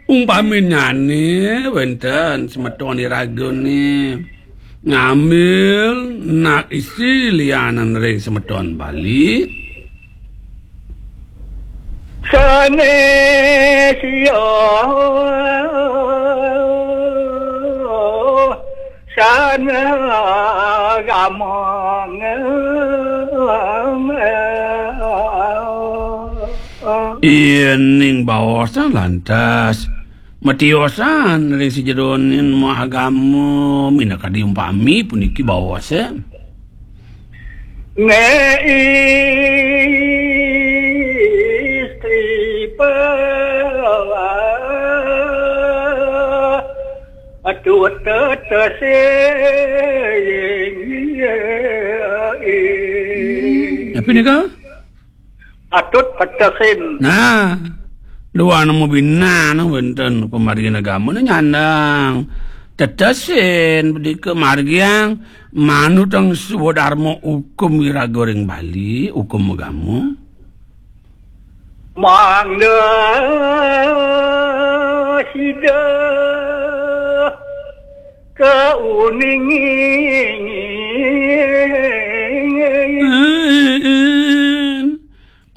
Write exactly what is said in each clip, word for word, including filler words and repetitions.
Umpaminnyané wénten semeton iragané ngambil nak istri lianan ring semeton Bali. Sanés ya sana gamang. Yéning baosan lantas matiosan ring sajeroning maagama, minakadi umpami puniki baosan. Né istri pa atut tetesin. Tapi nika? Atut tetesin. Nah, duana mabinan wénten pamargin agama nyandang tetesin, padika margiang manutang swadarma hukum iraga ring Bali, hukum agama. Mangda sida kauningin.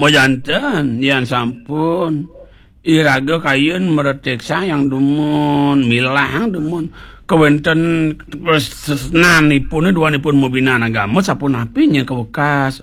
Majanten, yan sampun iraga kayun mreteksayang dumun, milahang dumun kawénten tresnanipun, duanipun mabinan agama, sapunapi nya kawekas.